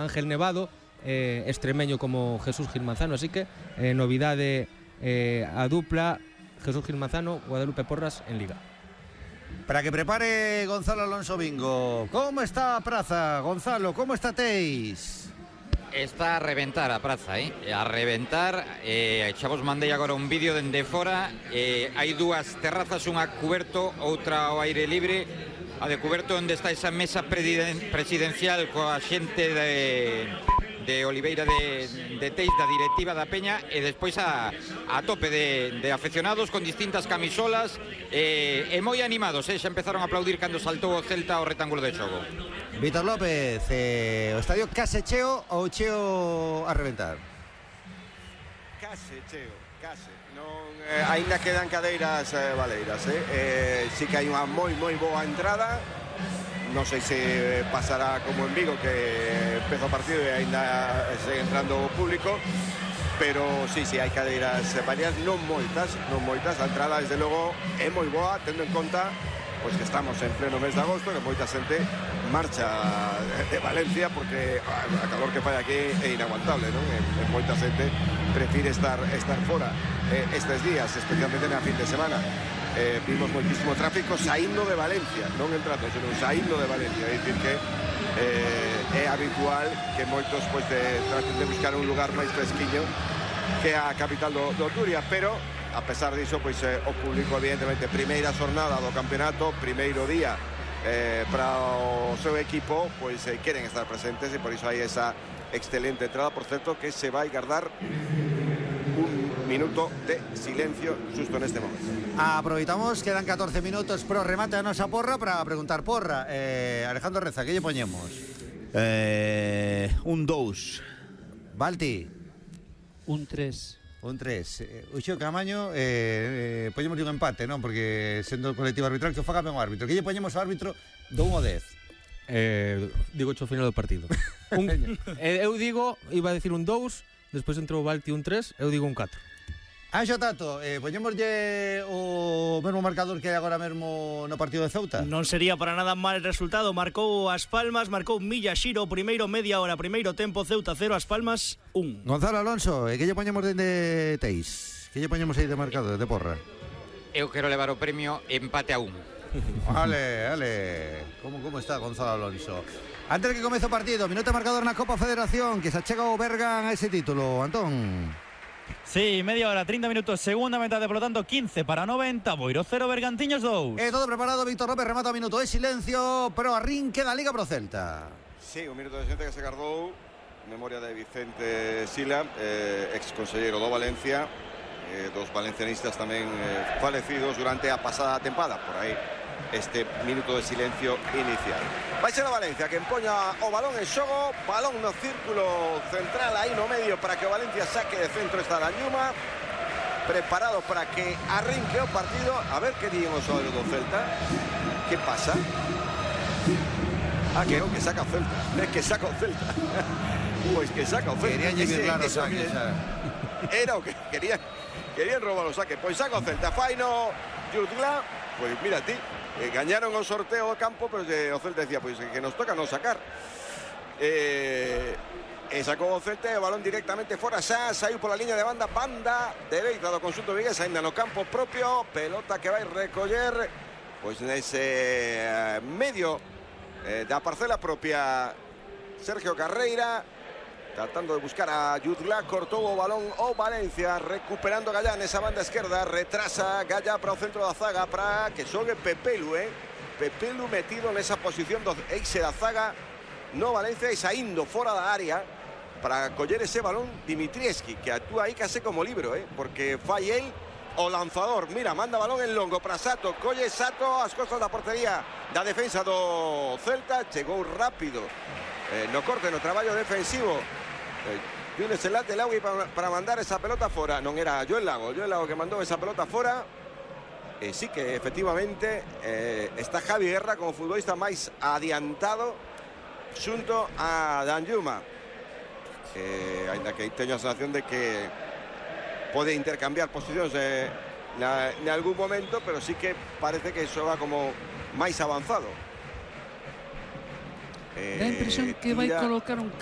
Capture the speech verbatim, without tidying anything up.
Ángel Nevado, eh, extremeño como Jesús Gil Manzano, así que eh, novidade eh, a dupla Jesús Gil Manzano, Guadalupe Porras en Liga. Para que prepare Gonzalo Alonso Bingo. ¿Cómo está a praza, Gonzalo? ¿Cómo está Teis? Está a reventar a praza, eh? a reventar. eh, xa vos mandei agora un vídeo dende fora. eh, hai dúas terrazas, unha cuberto, outra ao aire libre. A de cuberto onde está esa mesa presidencial coa xente de, de Oliveira de, de Teis, da directiva da Peña, e despois a, a tope de, de afeccionados con distintas camisolas eh, e moi animados, eh? xa empezaron a aplaudir cando saltou o Celta ao retángulo de xogo. Víctor López, eh, o estadio case cheo ou cheo a reventar? Case cheo, case. Non, eh, aínda quedan cadeiras eh, valeiras, eh? Eh, sí que hai unha moi moi boa entrada. Non sei se pasará como en Vigo, que empezou o partido e aínda segue entrando o público, pero sí, sí, hai cadeiras varias, non moitas, non moitas. A entrada, desde logo, é moi boa, tendo en conta pois que estamos en pleno mes de agosto, que moita xente marcha de Valencia porque a calor que fai aquí é inaguantable, non? E, e moita xente prefire estar estar fora eh, estes días, especialmente na fin de semana. Eh, vimos moitísimo tráfico saindo de Valencia, non entrando, senón saindo de Valencia. É dicir que eh, é habitual que moitos pois, de, traten de buscar un lugar máis fresquiño que a capital do, do Turia, pero a pesar diso, pois eh, o público, evidentemente, primeira xornada do campeonato, primeiro día eh, para o seu equipo, pois eh, queren estar presentes, e por iso hai esa excelente entrada. Por certo, que se vai guardar un minuto de silencio justo neste momento. Aproveitamos, quedan catorce minutos pro remate a nosa porra para preguntar porra. eh, Alejandro Reza, que lle poñemos? Eh, un dous. Balti? Un tres. Un tres. eh, O Xeo Camaño eh, eh, poñemos un empate, non? Porque sendo colectivo arbitral que o faga ben o árbitro. Que lle poñemos ao árbitro do un ao dez? Eh, digo ao final do partido. un, eh, eu digo, iba a decir un dous, despois entrou o Balti un tres, eu digo un catro. Anxo Tato, eh, poñémoslle o mesmo marcador que hai agora mesmo no partido de Ceuta? Non sería para nada mal resultado. Marcou As Palmas, marcou Miyashiro, primeiro media hora, primeiro tempo, Ceuta cero, As Palmas un. Gonzalo Alonso, e que lle poñemos dende Teis? Que lle poñemos aí de marcador, de porra? Eu quero levar o premio empate a un. Vale, vale. Como, como está Gonzalo Alonso? Antes de que comece o partido, minuto marcador na Copa Federación, que se achega o Bergan a ese título, Antón. Sí, media hora, treinta minutos, segunda metade, por lo tanto, quince para noventa, Boiro cero, Bergantiños dous. E todo preparado, Víctor López remata o minuto de silencio, pero arrinque da Liga pro Celta. Sí, un minuto de xente que se gardou, memoria de Vicente Sila, eh, ex conselleiro do Valencia, eh, dos valencianistas tamén eh, falecidos durante a pasada tempada, por aí este minuto de silencio inicial. Vai ser a Valencia que empoña o balón en xogo, balón no círculo central aí no medio para que o Valencia saque de centro esta Danjuma, preparado para que arrinque o partido. A ver que digan os xogadores do Celta. Que pasa? Ah, que non, que saca o Celta. É que saca o Celta. Pois que saca o Celta. Querían llevar claro o saque, era o que querían. Querían robar o saque. Pois saca o Celta. Faino Jutgla. Pois mira ti, eh, gañaron o sorteo do campo, pero eh, o Celta decía, pois que nos toca non sacar. Eh, e sacou o Celta e o balón directamente fora, xa saiu pola liña de banda, banda dereita do conxunto vigués, ainda no campo propio, pelota que vai recoller pois nese eh, medio eh, da parcela propia Sergio Carreira, tratando de buscar a Jutgla, cortou o balón o Valencia, recuperando Gallá nesa banda esquerda, retrasa Gallá para o centro da zaga, para que xogue Pepelu, eh? Pepelu metido nesa posición do eixe da zaga no Valencia e saindo fora da área para coller ese balón Dimitrievski, que actúa aí case como libro, eh? Porque fai el o lanzador. Mira, manda balón en longo para Sato, colle Sato as costas da portería da defensa do Celta, chegou rápido eh, no corte, no traballo defensivo Yunes el Late Laugui para, para mandar esa pelota fora. Non era Joel Lago, Joel Lago que mandou esa pelota fora. E sí que efectivamente eh, está Javi Guerra como futbolista máis adiantado xunto a Danjuma, eh, ainda que teño a sensación de que pode intercambiar posicións eh, na, en algún momento, pero sí que parece que xoga como máis avanzado. Da impresión que vai colocar un